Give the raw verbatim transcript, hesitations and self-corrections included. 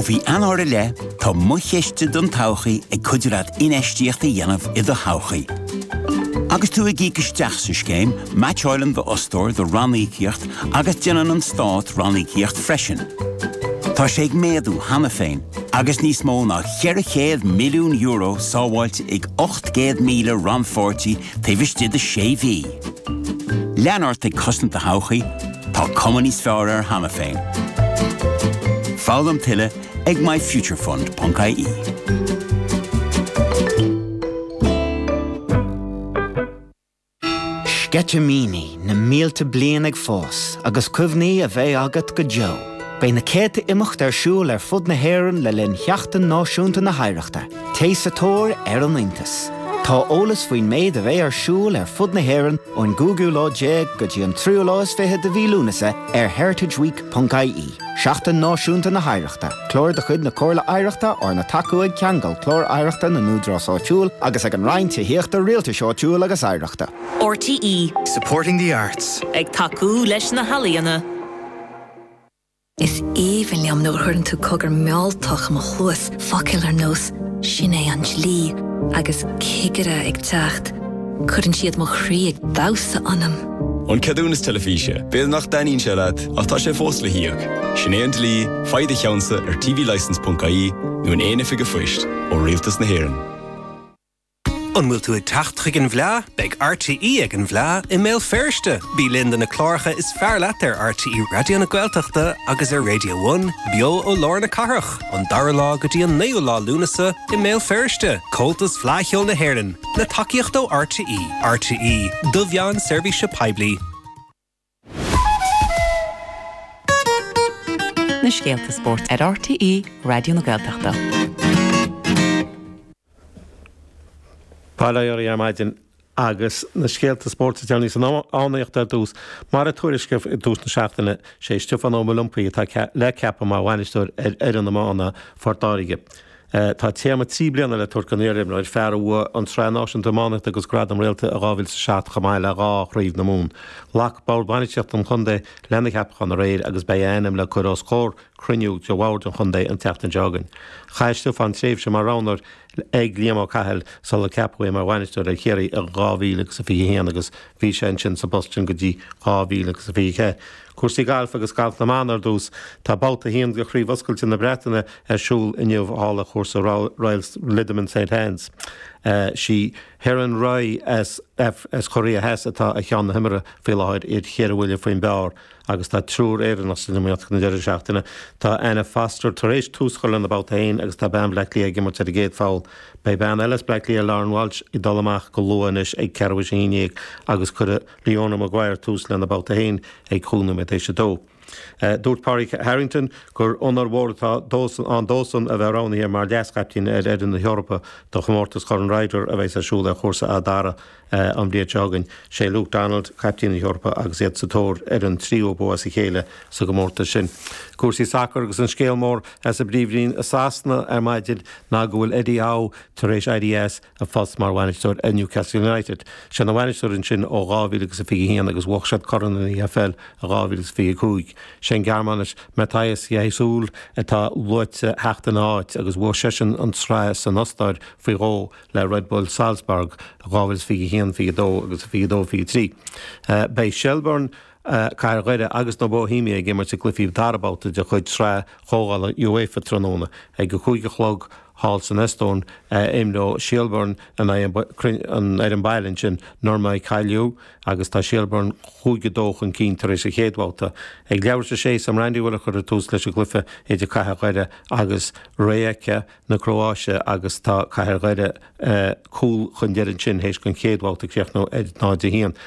faoi Eanáir i leith, tá Mo Chiste don Todhchaí ag cuidiú leat infheistíocht a dhéanamh i do thodhchaí. Agus tú ag íoc isteach sa scéim, meaitseálann d'fhostóir do ranníocaíocht agus déanann an stát ranníocaíocht freisin. Tá sé ag méadú cheana féin, agus níos mó ná ceithre chéad milliún euro sábháilte ag ocht gcéad míle rannpháirtí taobh istigh de sé mhí. Lean ort ag cosaint do thodhchaí, tá cuma níos fearr air cheana féin. Foghlaim tuilleadh ag myfuturefund.ie. Sceitimíní na mílte bliain ag fás agus cuimhní a bheidh agat go deo. Beidh na céadta imeacht ar siúl ar fud na hÉireann le linn Sheachtain Náisiúnta na hOidhreachta, Téigh sa tóir ar an iontas. Tá eolas faoin méid a bheidh ar siúl ar fud na hÉireann ón gcúigiú lá déag go dtí an tríú lá is fiche de mhí Lúnasa ar heritageweek.ie. Seachtain Náisiúnta na hOidhreachta, Clár de chuid na Comhairle Oidhreachta arna tacú ag Ceangal Clár Oidhreachta na nÚdarás Áitiúil agus ag an Roinn Tithíochta Rialtais Áitiúil agus Oidhreachta. RTE Supporting the arts. Ag tacú leis na healaíona. Is aoibhinn liom nuair a chuireann tú cogar mealltach i mo chluas, focail ar nós sin é an dlí agus cigire ag teacht. Cuireann siad mo chroí ag damhsa ionam. An ceadúnas teilifíse, B'fhéidir nach dtaitníonn sé leat ach tá sé fós le híoc. Sin é an dlí, faigh do cheannsa ar tvlicence.ie nó in aon oifig phoist ó Rialtas na hÉireann. An bhfuil tú ag teacht chuig an bhFleá, beidh RTE ag an bhFleá i mBéal Feirste. Bí linn do na cláracha is fearr leat ar RTE Raidió na Gaeltachta agus ar Radio One, beo ó lár na cathrach, an dara lá go dtí an naoú lá Lúnasa i mBéal Feirste, Comhaltas Fleadh Cheoil na hÉireann, le tacaíocht ó RTE, RTE, do mheán seirbhíse poiblí. Na scéalta spóirt ar RTE Raidió na Gaeltachta. Bail ó Dhia oraibh ar maidin agus na scéalta spóirt is deireanaí san iománaíocht ar dtús. Mar a tuairiscíodh i dtús na seachtaine, sé Stiofán Ó Maolumpaí atá le ceapadh mar bhainisteoir ar fhoireann iomána Phort Láirge. Tá téarma trí bliana le tabhairt don iarimreoir, fear a bhuaigh an tSraith Náisiúnta Iománaíochta agus Gradam Réalta i dhá mhíle is a seacht chomh maith le dhá Chraobh na Mumhan. Ghlac Bord Bainistíochta an chontae lena cheapachán aréir agus beidh a ainm le cur os comhair cruinniú de bhord an chontae an tseachtain seo chugainn. Chaith Stiofán tréimhse mar roghnóir ag Liam Ó Cathail sular ceapadh é mar bhainisteoir ar Chiarraí i dhá mhíle agus a fiche a haon agus bhí sé ansin sa bpost sin go dtí dhá mhíle agus a fiche a ceathair. Cúrsaí gailf agus galf na mban ar dtús. Tá babhta a haon de Chraobh Oscailte na Breataine ar siúl inniu thall ar chúrsa Royal Lytham and St Anne's. Sí Haeran Ryu as as Cóiré Theas atá ar cheann na himeartha faoi láthair, iad ceithre bhuille faoin bpar agus tá triúr Éireannach san iomaíocht ag an deireadh seachtaine. Tá Anna Foster tar éis tús a chur lena babhta féin agus tá bean Bhaile Átha Cliath ag imirt ar an gcéad pholl. Beidh bean eile as Bleá Cliath, Lauren Walsh, ag dul amach go luath anois ag ceathrú théis a haon déag agus cuirfidh Leona Maguire tús lena babhta féin ag cúig nóiméad théis a dó. Dúirt Pádraig Harrington gur onóir mhór atá ann dósan a bheith roghnaithe mar leas-chaiptín ar fhoireann na hEorpa do chomórtas Chorn Ryder a bheas ar siúl ar chúrsa Fhad Dara an bhliain seo chugainn. Sé Luke Donald caiptín na hEorpa agus iad sa tóir ar an tríú bua as a chéile sa gcomórtas sin. Cúrsaí sacair agus an scéal mór as an bPríomhroinn i Sasana ar maidin ná go bhfuil Eddie Howe tar éis éirí as a phost mar bhainisteoir ar Newcastle United. Sé ina bhainisteoir ansin ó dhá mhíle agus a fiche a haon agus bhuaigh siad Corn an EFL i dhá mhíle is fiche a cúig. Sé an Gearmánais Matthias Jaissle atá luaite theacht ina áit agus bhuaigh seisean an tsraith san Ostáir faoi dhó le Red Bull Salzburg i dhá mhíle is fiche a haon, fiche a dó agus fiche a dó, fiche a trí. Beidh Shelbourne, Cathair Dhoire agus na Bohemia ag imirt i gcluichí dara babhta de chuid Sraith Chomhdhála UEFA tráthnóna ag a cúig a chlog thall san Eastóin. Imreoidh Shelbourne in aghaidh an fhoireann baile ansin, Nõmme Kalju, agus tá Shelbourne cúig a dó chun cinn tar éis an chéad bhabhta. Ag leathuair tar éis a sé, Sam Randywell a chuirfidh tús leis an gcluiche idir Cathair Dhoire agus Rijeka na Cróáise agus tá Cathair Dhoire cúl chun deiridh ansin théis don chéad bhabhta críochnú ar náid a haon.